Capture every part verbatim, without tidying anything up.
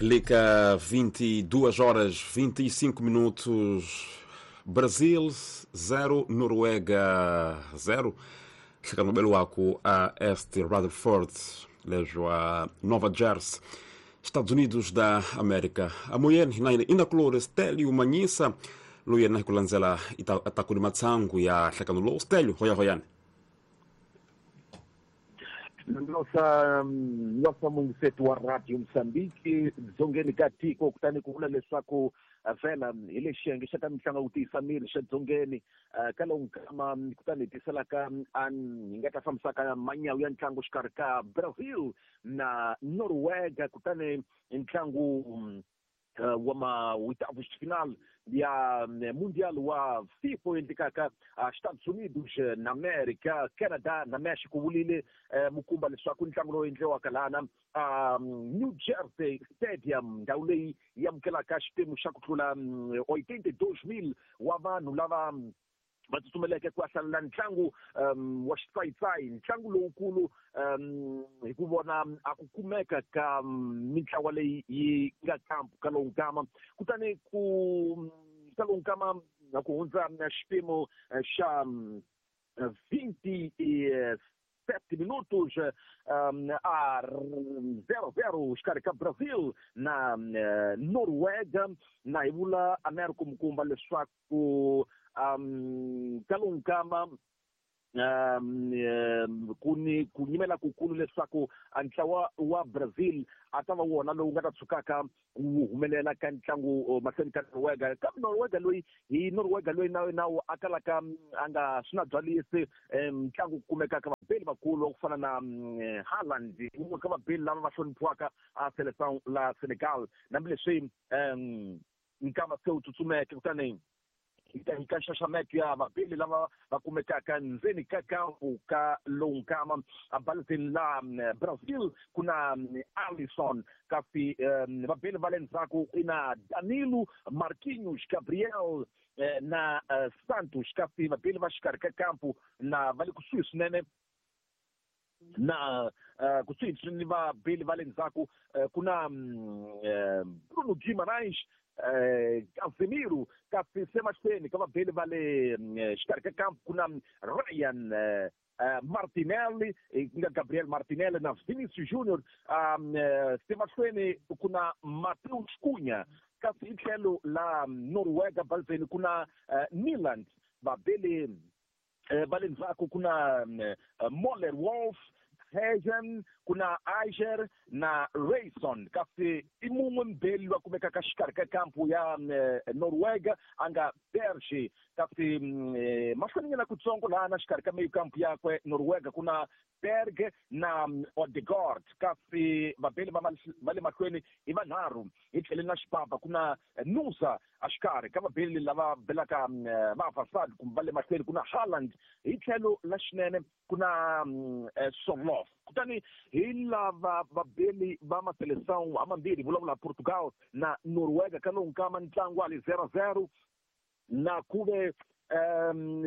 Liga vinte e duas horas vinte e cinco minutos, Brasil zero, Noruega zero. Chegando no Beluaco a Este Rutherford, lejo a Nova Jersey, Estados Unidos da América. A mulher na color Stélio Manhissa, luia na kulanzela itakuli matsangu ya hlakano lo Stélio, hoya hoyane. Nossa nossa mungisetu wa Radio Mozambique dzongeni ka tiko kutani ku vula leswaku vhela hi le xiyenge xa ta mitlangu ku tiyisa miri xa dzongeni ka lowu nkama kutani hi tiselaka hi nga ta fambisaka manyawu ya ntlangu xikarhi ka Brazil na Noruega kutani ntlangu wa ma-oitavos de final ya Mundial wa FIFA endlekaka Estados Unidos na America, Canada na Mexico vulile mukumba leswaku ntlangu lowu endliwaka lana New Jersey Stadium ndhawu leyi yi amukelaka xiphemu xa ku tlula oitenta e dois mil wa vanhu lava va tsutsumeleke ku ya hlalela ntlangu um, wa xitsayitsayi ntlangu lowukulu um, hi ku vona a ku kumeka ka mintlawa leyi yi nga kampu ka lowu nkama kutani ku ka lowu nkama na ku hundza xiphemu xa vinte e sete minutos um, a zero zero xikarhi ka Brazil na uh, Noruega na hi vula America mukumba leswaku um ka lowu nkama um ku ni ku nyimela kukulu leswaku ntlawa wa Brazil a ta va wona lowu nga ta tshukaka wu humelela ka ntlangu mahlweni ka Noruega kambe Noruega loyi hi Noruega loyi na na a kalaka a nga swi na byalisi ntlangu ku kumekaka vabeli vakulu wa ku fana na Haaland wun'we ka vabeli lava va hloniphiwaka a Seleção la Senegal hambileswi um nkama se wu tsutsumeke kutani ka nxaxameto ya vabeli lava va kumekaka ndzeni ka kampu ka lowu nkama abalazeni la Brazil ku na Alisson kasi vabeli va le ndzhaku i na Danilo, Marquinhos, Gabriel na Santos kasi vabeli va xikarhi ka kampu na va le kusuhi swinene na kusuhi ni vabeli va le ndzhaku ku na Bruno Guimarães, Casemiro kasi se mahlweni ka vabeli va le xikarhi ka kampu ku na Ryan Martinelli ku nga Gabriel Martinelli na Vinicius Junior se mahlweni ku na Matheus Cunha kasi hi tlhelo la Noruega balzeni ku na Nyland vabeli va le ndzhaku ku na Moller Wolf Hagen ku na Aiger na Rayson kasi i mun'we mbeli loyi a kumekaka xikarhi ka kampu ya Noruega a nga Berge kasi mahlweninyana kutsongo laha na xikarhi ka meyo kampu yakwe Noruega ku na Berg na Odegaard kasi vabeli va le mahlweni i vanharhu hi tlhele na xipapa ku na Nusa exikarhi ka vabeli lava belaka va Vasad kumbe va le mahlweni ku na Haaland hi tlhelo la xinene ku na Sorloth kutani hi lava vabeli va maseleção hamambirhi vulavula Portugal na Noruega ka lowu nkama ntlangu wa le zero zero na kuve um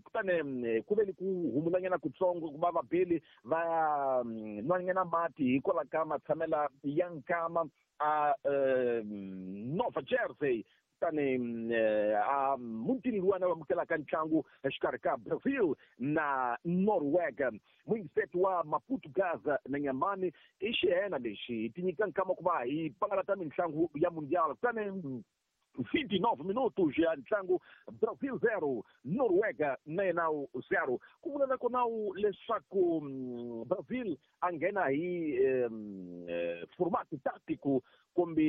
kutani ku ve ni ku humulanyana kutsongo ku va vabeli va nwanyana mati hikwalaho ka matshamela ya nkama a Nova Jersey kutani a mutini luwana va amukelaka ntlangu exikarhi ka Brazil na Noruega muyingiseti wa Maputo Gaza na Nyamani i xihena lexi hi ti nyika nkama ku va hi pangalata mitlangu ya Mundial kutani vinte e nove minutos ya ntlangu Brazil zero Noruega na yena zero ku vula na kona leswaku Brazil a nghena hi formato tático kumbe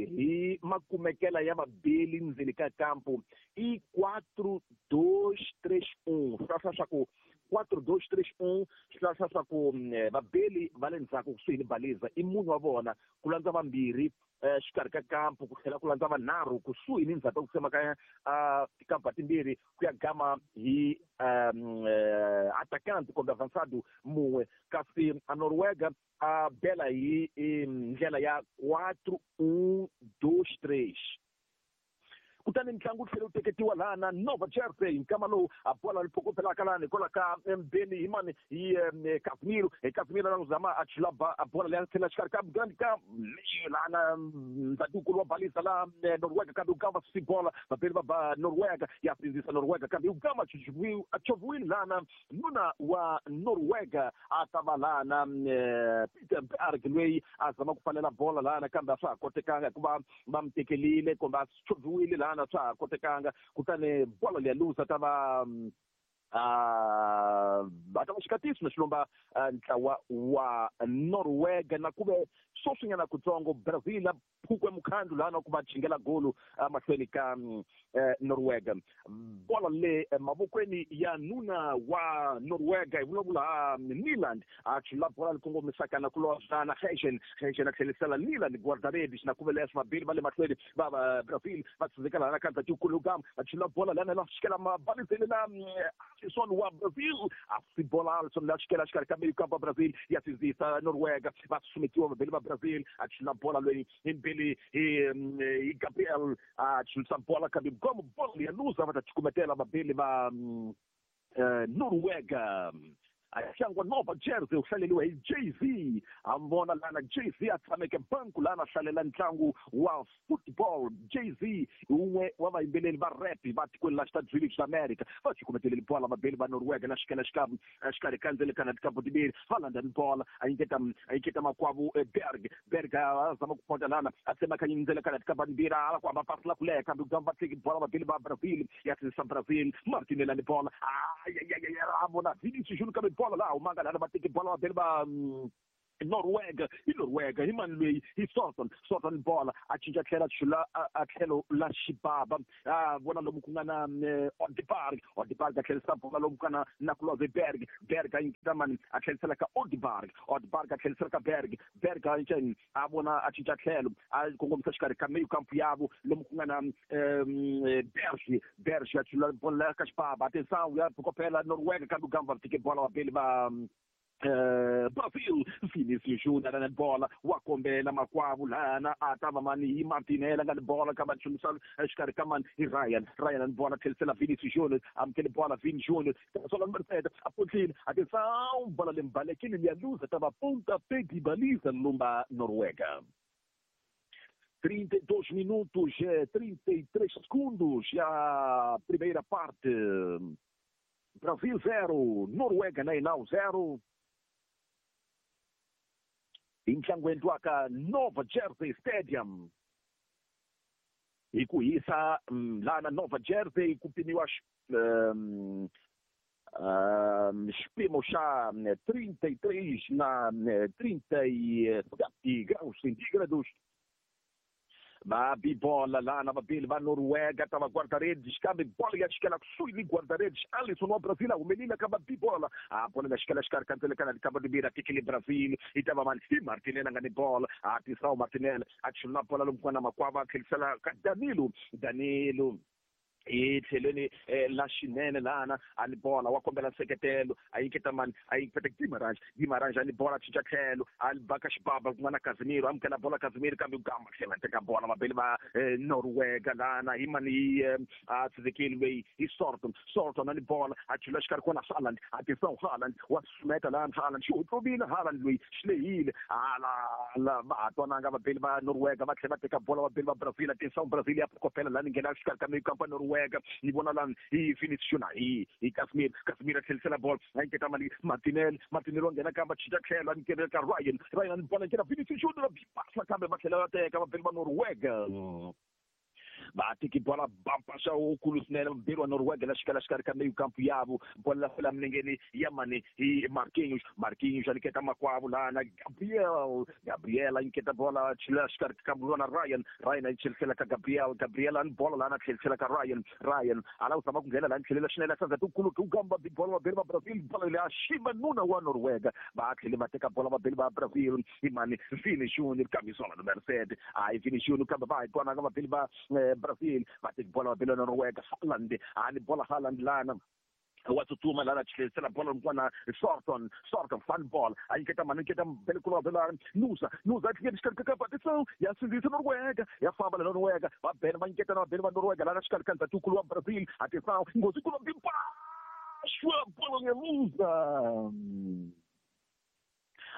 hi makumekela ya vabeli ndzeni ka kampu i quatro dois três um swi hlaya swa ku quatro dois três um swi hlaya swa ku vabeli va le ndzhaku kusuhi ni baliza i munhu wa vona ku landza vambirhi xikarhi ka kampu ku tlhela ku landza vanharhu kusuhi ni ndzhaku ku tsemakanya tikampa timbirhi ku ya gama hi atacante kumbe avançado mun'we kasi a Noruega a bela hi ndlela ya quatro um dois três Kutani ntlangu tlhela wu teketiwa laha na Nova Jersey nkama lowu a bola liphokopelaka lani hikwalaho ka mbeni hi mani hi Casemiro hi Casemiro la zama a chula a bola leyi tlhela xikarhi ka grand ka lana ndzhatikulu wa balisa la Norwega kambe ukamba si bola vapeli va Norwega ya sindzisa Norwega kambe ukamba a choviwile lana nuna wa Norwega a ta va lana Peter Berg loyi a zama ku pfalela bola lana kambe a swa ha kotekanga hikuva va mi tekelile kumbe a choviwile lana swa ha kotekanga kutani bola leya luza ta va a ta va xikatiso na xilomba ntlawa wa Norwega na kuve sweswinyana kutsongo Brazil a phukwe mukhandlu lana ku va chingela golu mahlweni ka Norwega bola le mavokweni ya nuna wa Norwega hi vulavula Nyland a chula bola likongomisaka na ku lozana Heshen Heshen a tlhelisela Nyland guarda-redes na kuve leswi vabili va le mahlweni va va Brazil va tsindzeka lana ka ndzhatikulu va chula bola lana la xikela mabalizeni na Alisson wa Brazil a si bola Alisson la xikela xikarhi ka meio campo Brazil ya sindzisa Norwega va susumetiwa vabili va Brazil a chula bola loyi hi mbili hi Gabriel a chulisa bola kambe gomo bola ya luza va ta cukumetela vabili va Norwega a Nova Jersey u hlaleriwa hi Jay-Z a vona lana Jay-Z a tshameke banku lana hlalela ntlangu wa football Jay-Z hi wun'we wa vayimbeleri va rap va tikweni la Estados Unidos ta America va cukumeteleli bola vabeli va Norwega na xikela xikarhi xikarhi ka ndzele kana tikampo timbirhi va landza ni bola a nyiketa a nyiketa makwavo Berg Berg a zama ku ponta lana a tsemakanya ndzele kana tikampo timbirhi ala ku hamba pasi la ku leha kambe va teki bola vabeli va Brazil ya sindzisa Brazil Martinelli ni bola a vona Vinicius Junior kambe bola laha humanga lana va teki bola vabeli va Norwega hi Norwega hi mani loyi hi Sorton Sorton bola a cinca tlhela chula a tlhelo la xibaba a vona lomu ku nga na Odeberg Odeberg a tlherisa bola lomu ku nga na Nakuloze Berg Berg a nyiketa mani a tlherisela ka Odeberg Odeberg a tlherisela ka Berg Berg a cinca a vona a cinca tlhelo a kongomisa xikarhi ka meio campo yavo lomu ku nga na Berg Berg a chula bola ka xibaba atenção ya phokopela Norwega kambe gamba teke bola vabeli va Brazil Vinicius Junior na bola wa kombela makwavo lana a ta va mani hi Martinelli nga ni bola ka va chumisa xikarhi ka mani hi Ryan Ryan ni bola tlherisela Vinicius Junior amukele bola Vini Junior sola Mercedes a potlile atenção bola lembalekile liya luza ta va pontapé de baliza lumba Noruega. trinta e dois minutos, trinta e três segundos, a primeira parte. Brasil zero, Noruega nem zero. Ntlangweni wa ka Nova Jersey Stadium hi ku hisa lana Nova Jersey ku pimiwa um, um, xipimo xa trinta e três na trinta e sete graus centígrados. Va bibola lana vabili va Noruega ta va guarda-redes kambe bola ya xikela kusuhi ni guarda-redes Alisson wa Brazil a humelile ka va bibola a bola ya xikela xikarhi ka ndzele kana likamba timbirhi a tekele Brazil i ta va mani hi Martinelli a nga ni bola a tisao Martinelli a chula bola lomu ku nga na makwava a tlhelisela ka Danilo Danilo hi tlhelweni la xinene lana a ni bola wa kombela nseketelo a nyiketa mani a nyiketa Guimarães Guimarães a ni bola cinca tlhelo a ba ka xibaba ku nga na Casemiro amukela bola Casemiro kambe gamba tlhela teka bola vabeli va Noruega lana hi mani a tshizekile loyi hi Sorton Sorton a ni bola a chula xikarhi kona Haaland atenção Haaland wa susumeta lana Haaland xi hotlovile Haaland loyi xi lehile ala la va ha twananga vabeli va Noruega va tlhela va teka bola vabeli va Brazil atenção Brazil ya kopela lani nghena xikarhi ka meio campo Noruega ni vona lani hi Vinicius Junior hi hi Casemiro Casemiro a tlhelisela bola a nyiketa mali Martinelli Martinelli wa nghena kambe a cinca tlhelo a nyiketa ka Ryan Ryan a ni bola nyiketa Vinicius Junior bipasa kambe va tlhela va teka vabeli va Noruega va teki bola bampasa wukulu swinene vabeli wa Noruega la xikela xikarhi ka meio campo yavo bola la fela milengeni ya mani hi Marquinhos Marquinhos a nyiketa makwavo lana Gabriel Gabriel a nyiketa bola chila xikarhi ka vona Ryan Ryan a tlhelisela ka Gabriel Gabriel a ni bola lana tlhelisela ka Ryan Ryan a lava ku zama ku nghena lani tlhelela xinene sandza tikulu ku gamba bola vabeli va Brazil bola leyi a xima nuna wa Noruega va tlhele va teka bola vabeli va Brazil hi mani Vini Junior camisola numero sete a Vini Junior kambe va hi twananga vabeli va Brazil va teki bola vabeli va Noruega Haaland a ni bola Haaland lana Wa tsutsuma lana tlherisela bolo n'wana Sorton Sorton fan ball a nyiketa mani nyiketa Belikulo bela Nusa Nusa a tlhela xikarhi ka Patison ya sindzisa Noruega ya famba la Noruega va bena va nyiketa na vabeni va Noruega lana xikarhi ka ndzhatikulu wa Brazil atenção nghozi kulo bibaxo bolo ya Nusa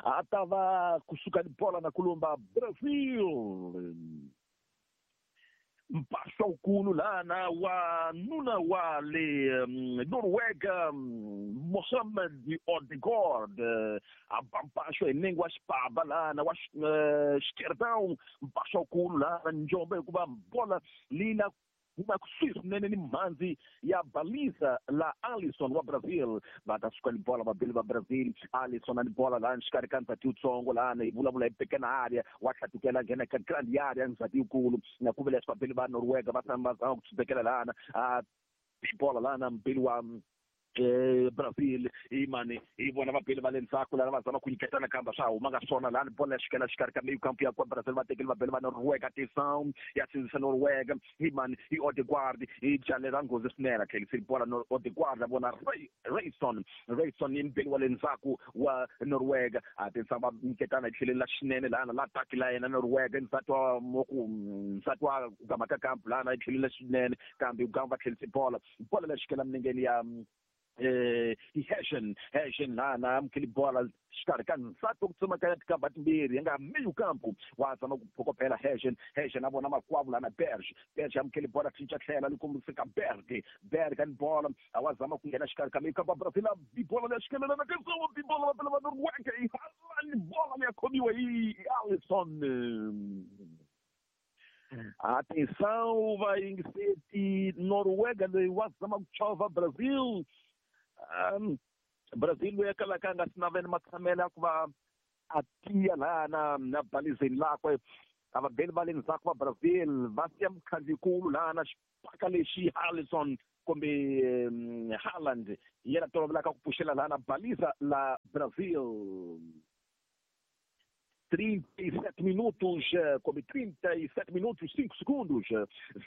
a ta va kusuka ni bola na kulumba Brazil mpahla wukulu lana wa nuna wa le Noruega Mohamed Odegaard a ba mpaxo hi nenge wa xipaba lana wa xikerdão mpaxo wukulu lana njombo hikuva bola leyi huma kusuhi swinene ni mhandzi ya balisa la Alisson wa Brazil va ta suka ni bola vabeli va Brazil Alisson a ni bola lana xikarhi ka ndzhati wutsongo lana hi vulavula hi pekena area wa tlhatukela nghena ka grand area ndzhati yikulu na ku vula leswi vabeli va Noruega va tshama va zama ku tsubekela lana a bola lana mbeli wa eh Brazil imani i vona vabeli va le ndzhaku lana va zama ku nyiketana kamba swa huma nga swona lani bola ya xikela xikarhi ka meyo kampu ya kwa Brazil va tekeli vabeli va Noruega atenção ya sindzisa Noruega imani i Odegaard i jale ra nghozi swinene a tlheliseli bola Odegaard a vona Rayson Rayson i mbeli wa le ndzhaku wa Noruega atenção va nyiketana hi tlheleni la xinene lana la taki la yena Noruega ndzati wa ku ndzati wa ku gama ka kampu lana hi tlheleni la xinene kambe gama va tlhelise bola bola la xikela minengeni ya eh Heshen Heshen lana amukeli bola xikarhi ka nsati ku tsemakanya tikamba timbirhi ya nga meyo kampu wa zama ku phokopela Heshen Heshen a vona makwavo lana Berge Berge amukeli bola cinca tlhela ni kombisa ka Berge Berge ni bola a wa zama ku nghena xikarhi ka meyo kampu Brazil a bola leyi xikelela na kezo bola va va Noruega i ni bola leyi khomiwa hi Alisson. Atenção va yingiseti Noruega leyi wa zama ku chovha Brazil. Um, Brazil loyi a kalaka a nga swi naveli matshamelo ya ku va a tiya lana na balizeni lakwe a vabeli va le ndzhaku va Brazil va siya mukhandziyikulu lana xipaka lexi Alisson kumbe um, Haaland hi yena tolovelaka ku pfuxela lana balisa la Brazil. trinta e sete minutos, come trinta e sete minutos, cinco segundos,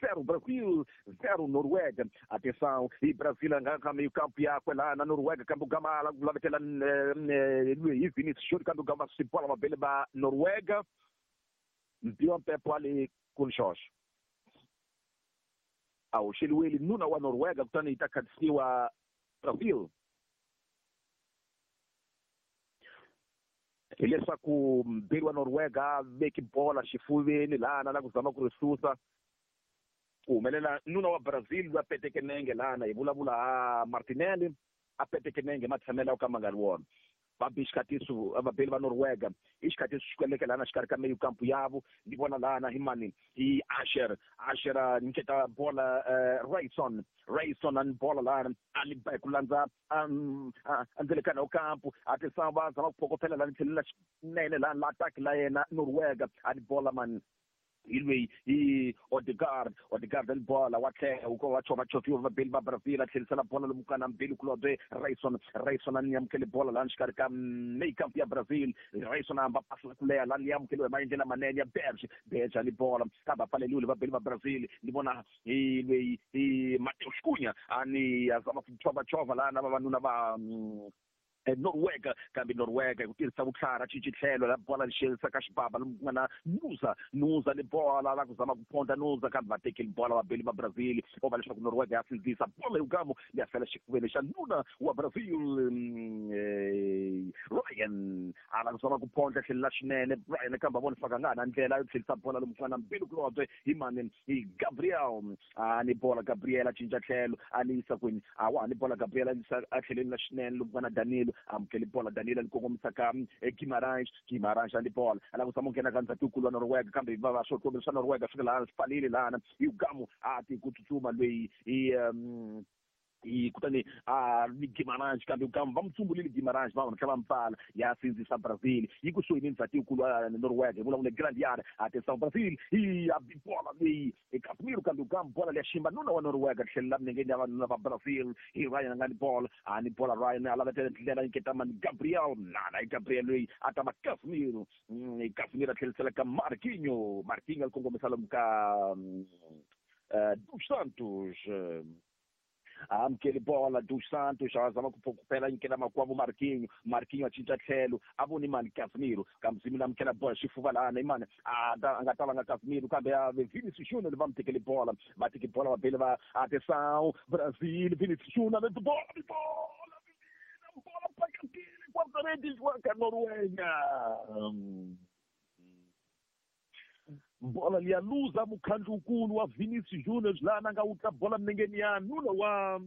zero Brasil, zero Noruega. Atenção, e Brasil arranca meio campo e água lá na Noruega, campo gama, lá lá Luiz Vinícius Júnior, campo gama, se bola uma bela ba Noruega, deu um pé ali com Jorge. Ao Chile, nuna wa Noruega, kutani itakadisiwa Brasil. Hileswaku mbirhi wa Noruega veki bola xifuveni lana la ku zama ku ri susa ku humelela nuna wa Brazil loyi a peteke nenge lana hi vulavula a Martinelli a peteke nenge matshamelo ya ka ma nga ri wona va bi xikhatiso vabeli va Noruega i xikhatiso xi kweleke lana xikarhi ka meyo kampu yavo ni vona lana hi mani hi Asher Asher a nyiketa bola Rayson Rayson a ni bola lana a ni ba ku landza endzele wa kampu a tisa va zama ku phokopela lana tlhelela xinene lana la ataki la yena Noruega a ni bola mani hi loyi hi Odegaard Odegaard ni bola wa tlhela wu ko va chova choviwa vabeli va Brazil a tlherisela bola lomu kana mbili kulobye Rayson Rayson a ni amukele bola lani xikarhi ka meyikampu ya Brazil Rayson a hamba pasi la ku leha lani amukeliwe hi maendlelo lamanene ya Berge Berge a ni bola kambe a pfaleliwile vabeli va Brazil ni vona hi loyi hi Mateus Cunha a ni a zama ku chovachova lana vavanuna va Noruega kambe Noruega hi ku tirhisa vutlhari a cinci tlhelo la bola lexerisa ka xibaba lomu ku nga na Nusa Nusa ni bola la ku zama ku phonda Nusa kambe va tekeli bola vabeli va Brazil o va leswaku Noruega ya sindzisa bola yugamu leya fela xifuveni xa nuna wa Brazil Ryan a la ku zama ku phonda tlhelo la xinene Ryan kambe a vona faka nga ha na ndlela yo tlherisa bola lomu ku nga na mbilu kulobye hi mani hi Gabriel a ni bola Gabriel a cinca tlhelo a ni yisa kwini a wa ni bola Gabriel a yisa a tlheleni la xinene lomu ku nga na Danilo amukeli bola Danilo ni kongomisa ka Guimarães Guimarães a ni bola a lava ku zama ku nghena ka ndzhatikulu wa Noruega kambe va va swo swa Noruega fika laha swi pfalile lana hi gamu a ti ku tsutsuma loyi hi hi kutani a ni Guimarães kambe gamu va mutsumbulile Guimarães va va tlhela va mpfala ya sindzisa Brazil yi kusuhi ni ndzhatikulu wa Noruega hi vulavula grand yard atenção Brazil hi a bola leyi Casemiro kambe gamu bola leya ximba nuna wa Noruega tlhelela minengeni ya vanuna va Brazil hi Ryan a nga ni bola a ni bola Ryan a lava ndlela nyiketa mani Gabriel nana hi Gabriel loyi a ta va Casemiro Casemiro a tlhelisela ka Marquinhos Marquinhos a kongomisa lomu ka dos Santos. Amukeli bola Dos Santos a zama ku phela nyikela makwavo Marquinhos Marquinhos a cinca tlhelo a voni mani Casemiro Casemiro amukela bola xifuva lana imani a nga ta va nga Casemiro kambe a Vinicius Junior va mu tekele bola va teke bola va bele va atenção Brasil Vinicius Junior bola bola bola pakatile guarda-redes wa ka Noruega bola liya luza mukhandlukulu wa Vinicius Junior lana nga wutla bola minengeni ya nuna wa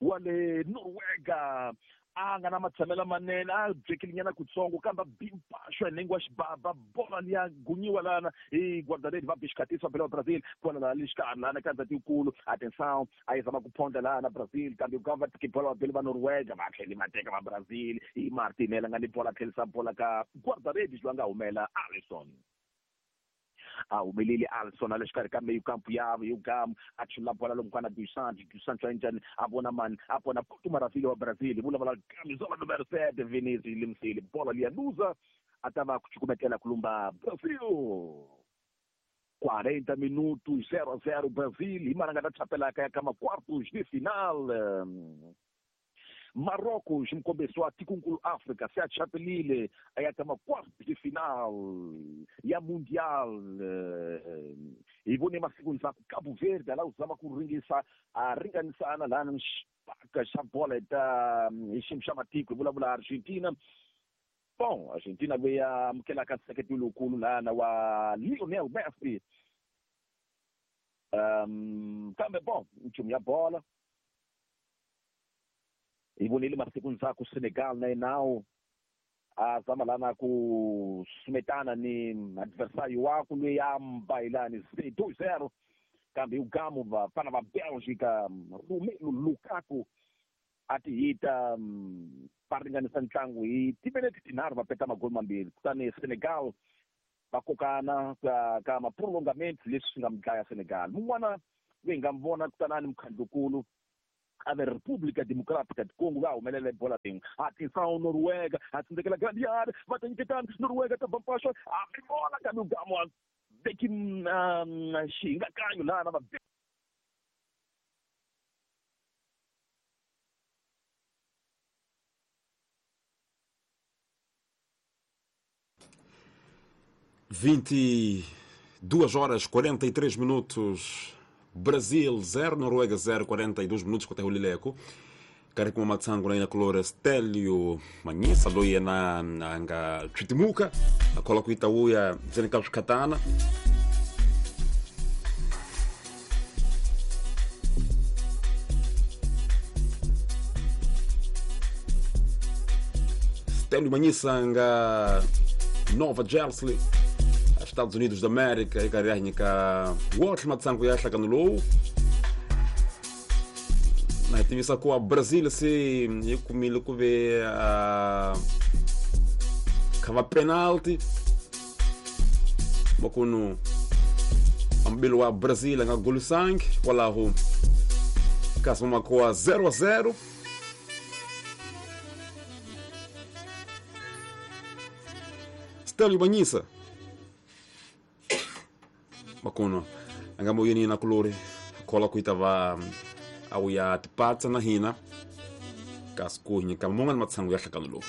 wa le Noruega a nga na matshamelo manene a byekile kutsongo kambe bimpaxo nenge wa xibaba bola liya gunyiwa lana hi guarda-redes va bixikatisa bela wa Brazil kona laha le xikarhi lana ka ndzati yikulu atenção a yi zama ku phonda lana Brazil kambe ku va tiki bola va bele va Noruega va tlheli va teka va Brazil hi Martinelli nga ni bola tlhelisa bola ka guarda-redes loyi a nga humela Alisson a humeleli Alisson a le xikarhi ka meyo kampu ya yo gamu a chula bola lomu kwana Dos Santos Dos Santos a njhani a vona mani a vona Porto Maravilha wa Brazil vulavula camisola numero sete Vinicius limsile bola liya luza a ta va ku cukumetela ku lumba Brazil quarenta minutos zero a zero Brazil hi mana nga ta chapelaka ya ka ma-quartos de final Marrocos mukombesi wa tikonkulu Afrika se a chapelile a ya ka ma-quartos de final ya mundial hi vone masiku ndzhaku Cabo Verde a la ku zama ku ringisa a ringanisana lana xipaka xa bola ta hi xiyimo xa matiko hi vulavula Argentina bon Argentina loyi a amukelaka nseketelo lowukulu lana wa Lionel Messi um kambe bon nchumu ya bola hi vonile masiku ndzhaku Senegal na yenawo a zama lana ku sumetana ni adversário wakwe loyi a mbayilani two zero kambe ugamu vafana va Belgica Romelu Lukaku a ti hita va ringanisa ntlangu hi timinete tinharhu va peta magoli mambirhi kutani Senegal va kokana ka ka ma-prolongament leswi swi nga mi dlaya Senegal mun'wana loyi hi nga mi vona kutanani mukhandlukulu a ve República Democrática de Congo va humelela bola rin'we atenção Noruega a tsindzekela grande área va ta nyiketana Noruega ta bampaxo a mi vona kambe ugamu a veki xihingakanyo lana va vinte e duas horas quarenta e três minutos. Brasil zero, Noruega zero, quarenta e dois minutos com o Lileco. Kari kuma matsangu na ina colore Stelio Manyisa loyi na anga chitimuka akola kuita uya zenika katana. Stelio Manyisa anga Nova Jersey, Estados Unidos da América, ikarianyika wotlhe matsangu ya hlakano lowu na hi tivisa ku Brazil se yi kumile ku ve uh, kha va penalty makunu ambilo wa Brazil a nga golisangi kwalaho kasi makoa zero a zero. Stelio Manyisa makuno anga moyeni na kulori kola kuita va au ya tipatsa na hina kasi ku nyika mun'wana matsangu ya hlakano lowu.